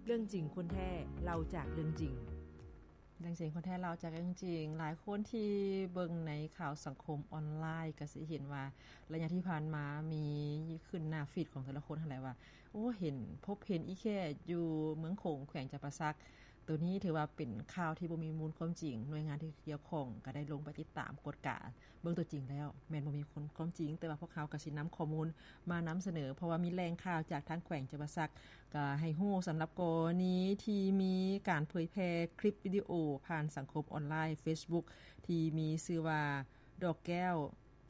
ເລື່ອງຈິງຄົນແທ້ ເລົ່າຈາກເລື່ອງຈິງ. ເລື່ອງຈິງຄົນແທ້ ເລົ່າຈາກເລື່ອງຈິງ. ຫຼາຍຄົນທີ່ເບິ່ງໃນຂ່າວສັງຄົມອອນລາຍ ກໍຊິເຫັນວ່າໄລຍະທີ່ຜ່ານມາມີຂຶ້ນໜ້າຟີດຂອງແຕ່ລະຄົນຫັ້ນແຫຼະວ່າ ໂອ້ ເຫັນ ພົບເຫັນອີແຂ້ຢູ່ເມືອງໂຂງ ແຂວງຈຳປາສັກ. ໂຕນີ້ຖືວ່າເປັນຂ່າວທີ່ບໍ່ມີມູນຄວາມຈິງ. ໜ່ວຍງານທີ່ກ່ຽວຂ້ອງກໍໄດ້ລົງໄປຕິດຕາມກວດກາເບິ່ງຕົວຈິງແລ້ວ ແມ່ນບໍ່ມີຄວາມຈິງ, ແຕ່ວ່າພວກເຮົາກໍຊິນຳຂໍ້ມູນມານຳສະເໜີ ເພາະວ່າມີແຫຼ່ງຂ່າວຈາກທາງແຂວງຈຳປາສັກ ກໍໃຫ້ຮູ້ສຳລັບກໍລະນີທີ່ມີການເຜີຍແຜ່ຄລິບວິດີໂອຜ່ານສັງຄົມອອນລາຍ Facebook ທີ່ມີຊື່ວ່າ ດອກແກ້ວ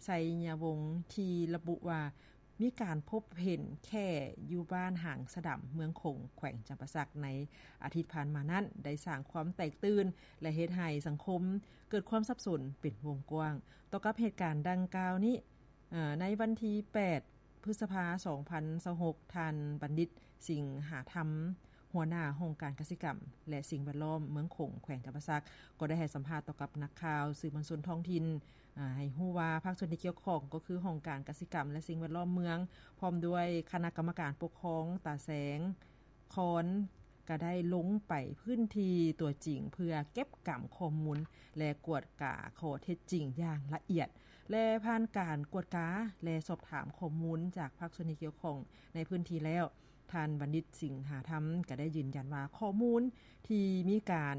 ໄຊຍະວົງ ທີ່ລະບຸວ່າ ມີການພົບເຫັນແຂ້ຢູ່ບ້ານຫາງສະດຳ ເມືອງໂຂງ ແຂວງຈຳປາສັກ ໃນອາທິດຜ່ານມານັ້ນ ໄດ້ສ້າງຄວາມແຕກຕື່ນ ແລະ ເຮັດໃຫ້ສັງຄົມເກີດຄວາມສັບສົນເປັນວົງກວ້າງ. ຕໍ່ກັບເຫດການດັ່ງກ່າວນີ້ ເອີ ໃນວັນທີແປດ ພຶດສະພາ ສອງພັນຊາວຫົກ ທ່ານ ບັນດິດ ສິງຫາທຳ ຫົວໜ້າຫ້ອງການກະສິກຳ ແລະ ສິ່ງແວດລ້ອມເມືອງໂຂງ ແຂວງຈຳປາສັກ ກໍໄດ້ໃຫ້ສຳພາດຕໍ່ກັບນັກຂ່າວສື່ມວນຊົນທ້ອງຖິ່ນ ອາ ໃຫ້ຮູ້ວ່າພາກສ່ວນທີ່ກ່ຽວຂ້ອງ ກໍຄືຫ້ອງການກະສິກຳ ແລະ ສິ່ງແວດລ້ອມເມືອງ ພ້ອມດ້ວຍຄະນະກຳມະການປົກຄອງຕາແສງຄອນ ກໍໄດ້ລົງໄປພື້ນທີ່ຕົວຈິງ ເພື່ອເກັບກຳຂໍ້ມູນ ແລະ ກວດກາຂໍ້ເທັດຈິງຢ່າງລະອຽດ ແລະ ຜ່ານການກວດກາ ແລະ ສອບຖາມຂໍ້ມູນຈາກພາກສ່ວນທີ່ກ່ຽວຂ້ອງໃນພື້ນທີ່ແລ້ວ ທ່ານ ບັນດິດ ສິງຫາທຳ ກໍໄດ້ຢືນຢັນວ່າ ຂໍ້ມູນທີ່ມີການ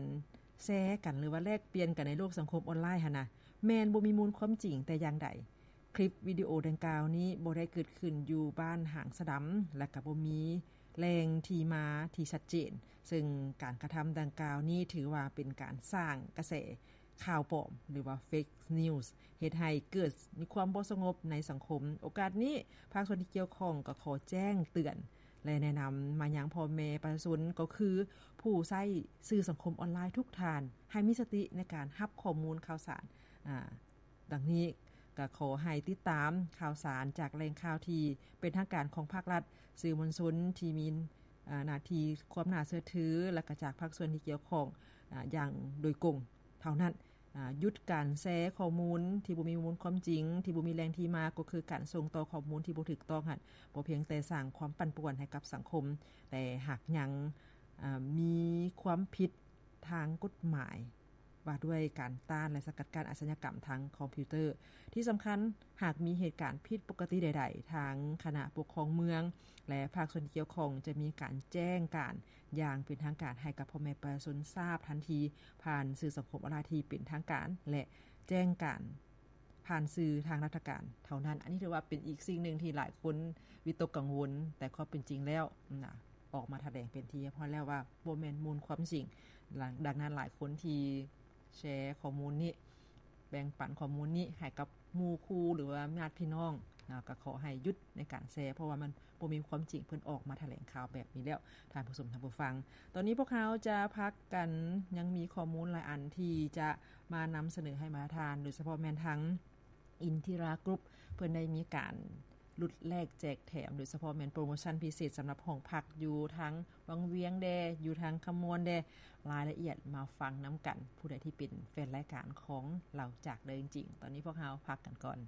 ແຊກັນ ຫຼືວ່າແລກປ່ຽນກັນໃນໂລກສັງຄົມອອນລາຍຫັ້ນນະ ແມ່ນບໍ່ມີມູນຄວາມຈິງແຕ່ຢ່າງໃດ. ຄລິບວິດີໂອດັ່ງກ່າວນີ້ບໍ່ໄດ້ເກີດຂຶ້ນຢູ່ບ້ານຫາງສະດຳ ແລະ ກໍບໍ່ມີແຫຼ່ງທີ່ມາທີ່ຊັດເຈນ, ເຊິ່ງການກະທຳດັ່ງກ່າວນີ້ຖືວ່າເປັນການສ້າງກະແສຂ່າວປອມ ຫຼືວ່າ ເຟກນິວສ໌ ເຮັດໃຫ້ເກີດມີຄວາມບໍ່ສະຫງົບໃນສັງຄົມ. ໂອກາດນີ້ ພາກສ່ວນທີ່ກ່ຽວຂ້ອງກໍຂໍແຈ້ງເຕືອນ ແລະ ແນະນຳມາຍັງພໍ່ແມ່ປະຊາຊົນ ກໍຄືຜູ້ໃຊ້ສື່ສັງຄົມອອນລາຍທຸກທ່ານ ໃຫ້ມີສະຕິໃນການຮັບຂໍ້ມູນຂ່າວສານ ອາ ດັ່ງນີ້ ກໍຂໍໃຫ້ຕິດຕາມຂ່າວສານຈາກແຫຼ່ງຂ່າວທີ່ເປັນທາງການຂອງພາກລັດ, ສື່ມວນຊົນທີ່ມີ ອາ ໜ້າທີ່ຄວາມໜ້າເຊື່ອຖື ແລະ ກໍຈາກພາກສ່ວນທີ່ກ່ຽວຂ້ອງ ອາ ຢ່າງໂດຍກົງເທົ່ານັ້ນ. ອາ ຢຸດການແຊຂໍ້ມູນທີ່ບໍ່ມີມູນຄວາມຈິງ, ທີ່ບໍ່ມີແຫຼ່ງທີ່ມາ, ກໍຄືການສົ່ງຕໍ່ຂໍ້ມູນທີ່ບໍ່ຖືກຕ້ອງຫັ້ນ ບໍ່ພຽງແຕ່ສ້າງຄວາມປັ່ນປ່ວນໃຫ້ກັບສັງຄົມ, ແຕ່ຫາກຍັງ ອາ ມີຄວາມຜິດທາງກົດໝາຍ ວ່າດ້ວຍການຕ້ານ ແລະ ສະກັດກັ້ນອາຊະຍາກຳທາງຄອມພິວເຕີ. ທີ່ສຳຄັນ, ຫາກມີເຫດການຜິດປົກກະຕິໃດໆ, ທາງຄະນະປົກຄອງເມືອງ ແລະ ພາກສ່ວນທີ່ກ່ຽວຂ້ອງ ຈະມີການແຈ້ງການຢ່າງເປັນທາງການໃຫ້ກັບພໍ່ແມ່ປະຊາຊົນຊາບທັນທີ ຜ່ານສື່ສັງຄົມອອນລາຍທີ່ເປັນທາງການ ແລະ ແຈ້ງການຜ່ານສື່ທາງລັດຖະການເທົ່ານັ້ນ. ອັນນີ້ຖືວ່າເປັນອີກສິ່ງໜຶ່ງທີ່ຫຼາຍຄົນວິຕົກກັງວົນ, ແຕ່ຄວາມເປັນຈິງແລ້ວນະ ອອກມາຖະແຫຼງເປັນທີ່ຮຽບຮ້ອຍແລ້ວວ່າບໍ່ແມ່ນມູນຄວາມຈິງ. ດັ່ງນັ້ນ ຫຼາຍຄົນທີ່ແຊຂໍ້ມູນນີ້ ແບ່ງປັນຂໍ້ມູນນີ້ໃຫ້ກັບໝູ່ຄູ່ ຫຼືວ່າຍາດພີ່ນ້ອງນະ ກໍຂໍໃຫ້ຢຸດໃນການແຊ, ເພາະວ່າມັນບໍ່ມີຄວາມຈິງ. ເພິ່ນອອກມາຖະແຫຼງຂ່າວແບບນີ້ແລ້ວ ທ່ານຜູ້ຊົມທ່ານຜູ້ຟັງ. ຕອນນີ້ພວກເຮົາຈະພັກກັນ, ຍັງມີຂໍ້ມູນຫຼາຍອັນທີ່ຈະມານຳສະເໜີໃຫ້ມາທ່ານ, ໂດຍສະເພາະແມ່ນທາງ ອິນທິຣາ ກຣຸບ ເພິ່ນໄດ້ມີການຫຼຸດແລກແຈກແຖມ, ໂດຍສະເພາະແມ່ນໂປຣໂມຊັນພິເສດສຳລັບຫ້ອງພັກຢູ່ທາງວັງວຽງແດ່, ຢູ່ທາງຄຳມ່ວນແດ່. ລາຍລະອຽດມາຟັງນຳກັນ, ຜູ້ໃດທີ່ເປັນແຟນລາຍການຂອງເລົ່າຈາກເລື່ອງຈິງ. ຕອນນີ້ພວກເຮົາພັກກັນກ່ອນ.